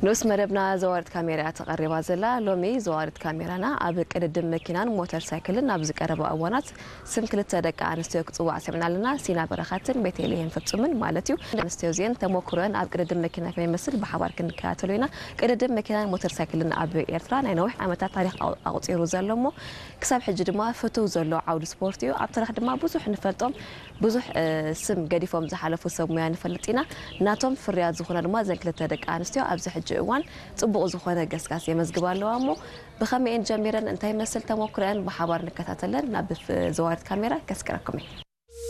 ንኡስ መደብና ዘዋሪት ካሜራ እያ ተቐሪባ ዘላ። ሎሚ ዘዋሪት ካሜራና ኣብ ቅድድም መኪናን ሞተር ሳይክልን ኣብ ዝቀረባ እዋናት ስም ክልተ ደቂ ኣንስትዮ ክጽዋዕ ሰሚዕና ኣለና። ሲና በረኸትን ቤተልሔም ፍጹምን ማለት እዩ። ኣንስትዮ እዚአን ተሞክሮአን ኣብ ቅድድም መኪና ከመይ ይመስል ብሓባር ክንከታተሎ ኢና። ቅድድም መኪናን ሞተር ሳይክልን ኣብ ኤርትራ ናይ ነዊሕ ዓመታት ታሪኽ ኣቑ-፣ ኣቑጺሩ ዘሎ እሞ ክሳብ ሕጂ ድማ ፍቱው ዘሎ ዓውዲ ስፖርት እዩ። ኣብ ታሪኽ ድማ ብዙሕ ንፈልጦም ብዙሕ፣ እ፣ ስም ገዲፎም ዝሓለፉ ሰብ ሙያ ንፈልጥ ኢና። ናቶም ፍርያት ዝኾና ድማ እዘን ክልተ ደቂ ኣንስትዮ ኣብዚ ሕጂ እዋን ጽቡቕ ዝኾነ ገስጋስ የመዝግባ ኣለዋ እሞ ብኸመይን ጀሚረን እንታይ መስል ተሞክሮአን ብሓባር ንከታተለን ናብ ፍ-፣ ዘዋሪት ካሜራ ከስቅረኩም እየ።